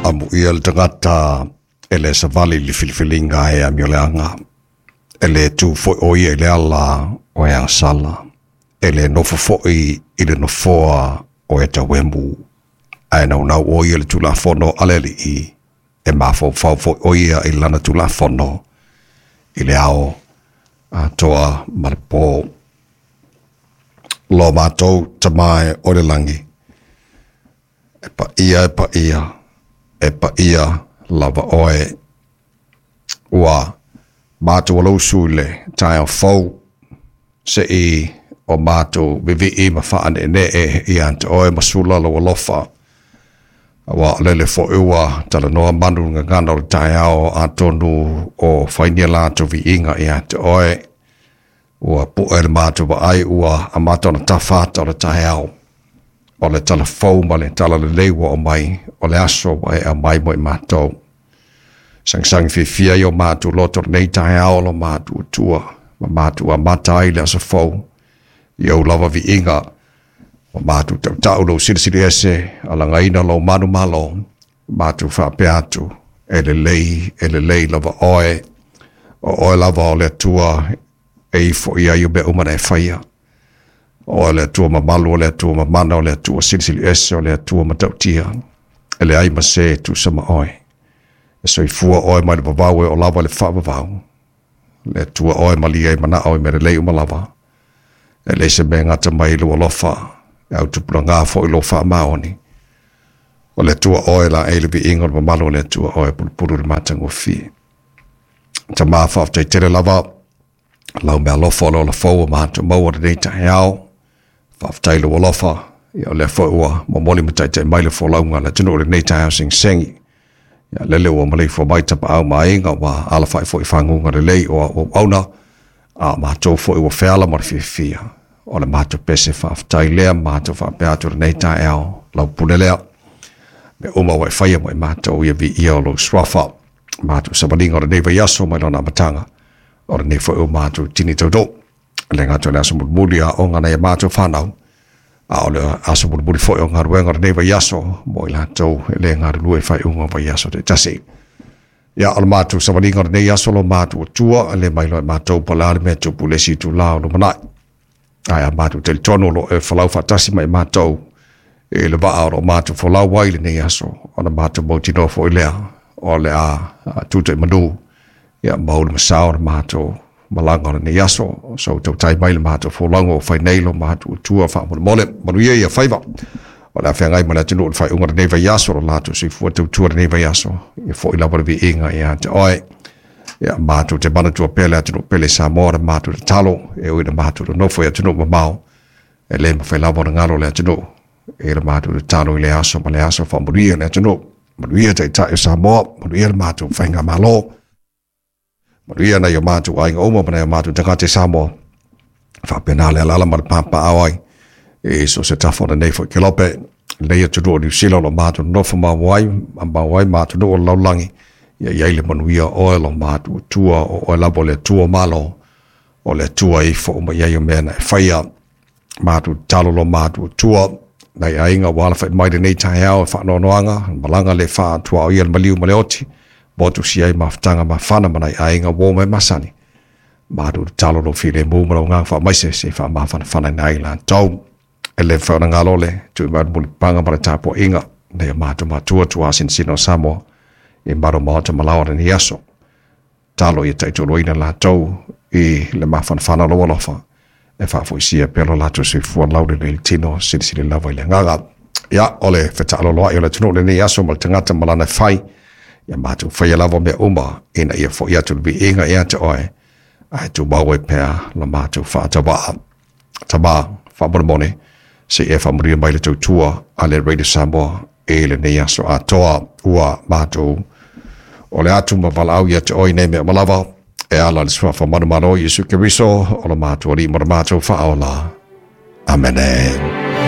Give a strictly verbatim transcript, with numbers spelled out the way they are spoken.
Amuia le tagata e le savali i le filifiliga e amioleaga, e le tu fo'i o ia i le ala o e agasala, e le nofo fo'i i le nofoa o e tauemu, ae naunau o ia i le Tulafono a le Alii, e mafaufau fo'i o ia i lana Tulafono i le ao atoa ma le pō. Lo mātou Tama e o le lagi, e paia e paia, e paia lava oe. Ua mātou alausu i le taeao fou, se'i o mātou vivii ma faane'ene'e ia te oe ma sula lou alofa. Aua o lele fo'i ua talanoa manu i le gagana o le taeao atonu o fainia latou viiga ia te oe. Ua pu'e le matou vaai ua amata ona tafa ata o le taeao. O le tala fou ma le tala lelei ua aumai, o le aso ua e aumai mo i matou. Sagisagi fiafia ai o matou loto lenei taeao lo matou Atua, ma matou amata ai le aso fou i ou lava viiga, ma matou tautau lou silisili ese, alagaina lou manumalo, matou faapea atu, e lelei, e lelei lava oe, o oe lava o le Atua e ifo i ai o mea uma na e faia. O oe o le Atua mamalu, o le Atua mamana, o le Atua silisili ese, o le Atua matautia, e leai ma se e tusa ma oe. E soifua oe mai le vavau e oo lava i le faavavau. Le Atua oe malie ai manao i mea lelei uma lava. E leai se mea e gata mai i lou alofa, e autupulaga foi lou faamaoni. O le Atua oe laei le viiga o le mamalu o le Atua oe pulupulu i le matagofie. Tama faafetai tele lava lau mealofa o le ola fou ua matou maua lenei taeao. Faafetai lou alofa, ia o lea foi ua momoli ma taitai mai le folauga a le atunuu i lenei taeao segisegi. Ia lele ua maleifua mai tapaau ma aiga ua alafai foi i faguga lelei o auauauna, a o matou foi ua feala ma le fiafia. O le matou pese faafetai lea ma matou faapea atu i lenei taeao lau pule lea. Mea uma ua e faia mo i matou ia viia o lou suafa. Matou savaliga o lenei vaiaso mai lona amataga, o lenei foi o matou tini tautoo. E le gata o le aso mulimuli aoga nai a matou fanau, a o le aso mulimuli foi o galuega o lenei vaiaso mo i latou e le galulue i faaiuga o vaiaso taitasi. Ia, o le matou savaliga o lenei aso lo matou Atua, e le mailoa e matou po o le a le mea e tupu i le isi itula o lumanai. Ae a matou talitonu o lo o e folau faatasi ma i matou i le vaa o lo o matou folau ai i lenei aso, ona matou mautinoa foi lea o le a tuta i manu, ia mau le masao o le matou malaga o lenei aso. So tautai mai le matou folauga o fai nei lo matou Atua faamolemole. Manuia ia faiva o le a feagai ma le atunuu i le faaiuga o lenei vaiaso, lo latou soifua tautua lenei vaiaso, ia foi lava le viiga ia te oe. Ia matou te manatua pea le atunuu pele Samoa, le matou tatalo e ui na matou nonofo i atunuu mamao, e le mafai lava ona galo le atunuu e le matou tatalo i le aso ma le aso. Faamanuia le atunuu, manuia taitai o Samoa, manuia le matou faigamalo, manuia nai o matou aiga uma ma nai o matou tagata i Samoa. Faapena le alaala ma le papaao ai e so se tafa o lenei foi kelope, lenei atunuu o Niu Sila o lo matou nonofo mau ai, mau ai ma atunuu o le lalolagi. Ia i ai le manuia oe lo matou Atua, o oe lava o le Atua o Malo, o le Atua e ifo uma i ai o mea na e faia. Matou tatalo lo matou Atua, nai aiga ua alafai mai lenei taeao e faanoanoaga, malaga le faatuaoia le maliu ma le oti, motu si ai mafutaga mafana ma nai aiga uo ma e masani. Matou tatalo lou filemu ma lou agaga faamaise se i faamafanafana ai latou. E le mafai ona galo le tui mai o le mulipapaga ma le tapuaiga nai o matou matua tuasinosino o Samoa i malu maota ma laoa lenei aso. Talo ia taitoloina latou i le mafanafana o lou alofa, e faafoisia pea lo latou soifua laulelei i le tino, silisili lava i le agaga. Ia, o le fetaaloloai o le atunuu lenei aso ma le tagata ma lana e fai, ia matou faia lava mea uma ina ia fo'i atu le viiga ia te oe, ae tumau ai pea la matou faatauaa. Tama, faamolemole, se i e faamanuia mai le tautua a le Radio Samoa i lenei aso atoa. Ua matou o le atu ma valaau ia te oe nei mea uma lava, e ala i le suafa manumalo o Iesu Keriso, o le matou Alii ma le matou Faaola. Amene.